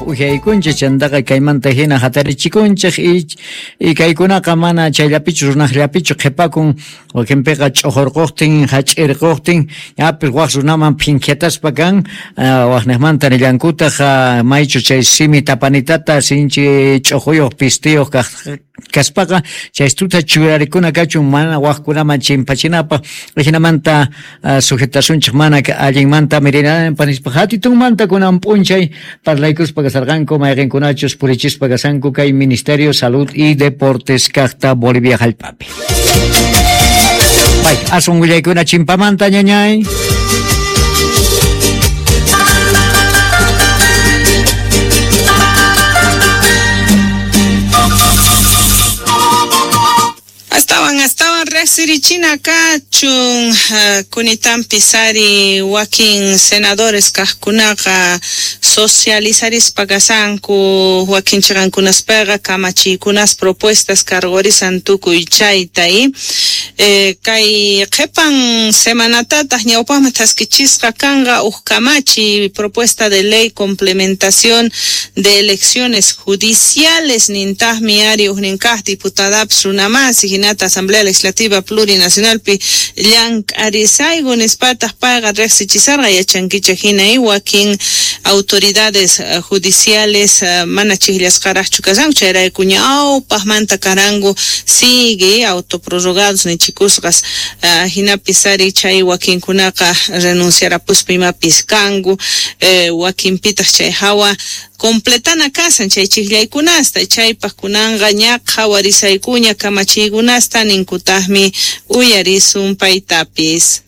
uhyaykunchej, chantaqa kaymanta hina hatarichikunchej y kaykunaqa mana chayllapichu runajllapichu qhipakun, wakinpiqa ch'uqurquqtin, hach'irquqtin, ñapis waj runaman phinkhiataspa kan, wajnejmanta nillankutaq maychu chay simi tapanitata sinchi ch'uquyuq pistiyuq kaspaqa chaystuta churarikuna kachun mana wajkunaman chimpachinapaq, jinamanta sujetasunchej mana allinmanta mirinanpaq nispa hatitunmanta kunan p'unchay parlaykuspa kasarqanku mayqinkunachus purichispa kasanku kay Ministerio Salud y Deportes kaqta Bolivia hallp'api. Pay, aswan willaykuna chimpamanta ñañay. Astawan riqsirichina kachun kunitanpis ari wakin senadores kaqkunaqa socializarispa kasanku wakin chiqankunaspaqa kamachiykunas propuestas cargorisan tukuy chayta kay qhipan semanatataq ñawpaqman thaskichisqa kanqa uj kamachi propuesta de ley complementación de elecciones judiciales nintaqmi ari ujnin kaq diputadapis runamasi hinata Asamblea Legislativa Plurinacionalpi llank'arisayku nispataq payqa riqsichisarqa yachankichik hina wakin autoridades judiciales mana chiqllasqaraqchu kasanku chayrayku ñawpaqmanta karanku sigue autoprorrogados nichikusqas hinapis ari chay wakinkunaqa renunciarapuspa imapis kanku wakinpitaq chay hawa completana kasan chay chiqllaykunasta chaypaq kunanqa ña qhawarisaykuña kamachiykunasta ninkutaqmi uyarisun paytapis.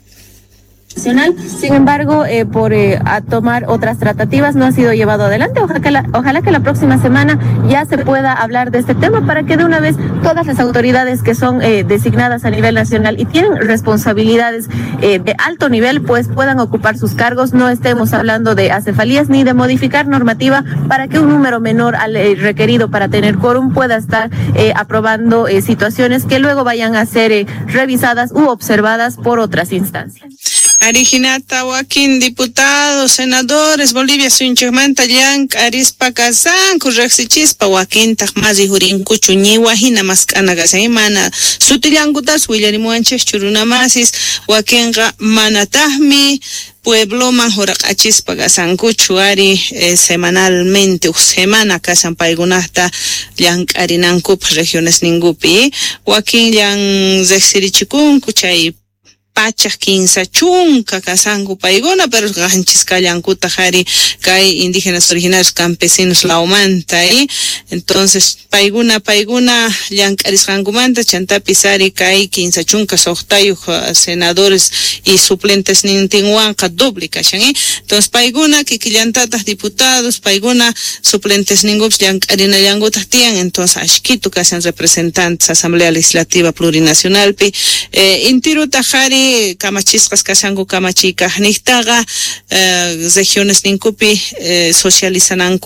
Sin embargo, por a tomar otras tratativas no ha sido llevado adelante. Ojalá que la próxima semana ya se pueda hablar de este tema para que de una vez todas las autoridades que son designadas a nivel nacional y tienen responsabilidades de alto nivel, pues puedan ocupar sus cargos. No estemos hablando de acefalías ni de modificar normativa para que un número menor al requerido para tener quórum pueda estar aprobando situaciones que luego vayan a ser revisadas u observadas por otras instancias. Arijinata wakin diputados, senadores, Bolivia suyunchikmanta llank'arispa kasanku riqsichispa wakintaq mas rijurinkuchu ñiwa hina mask'ana kashan mana sutillankutas willarimuwanchikchu runamasis wakinqa manataqmi puebloman huraq'achispa kasankuchu ari semanalmente uj semana kasan paykunata llank'arinankupaq regiones ninkupi wakin llan riqsirichikunku chay pachaq kinsa chunka kasanku paykuna pero qanchis kallankutaq ari kay indígenas originarios campesinos lawmanta entonces paykuna llank'arisqankumanta chantapis ari kay 56 senadores y suplentes nintinwanqa doble kashan entonces paykuna kikillantataq diputados paykuna suplentes ninkupis llank'arinallankutaq tiyan entonces ashkitu kashan representantes Asamblea Legislativa Plurinacionalpi intirutaq ari kamachisqas kashanku kamachiykaqniqtaqa regiones ninkupi socializananku.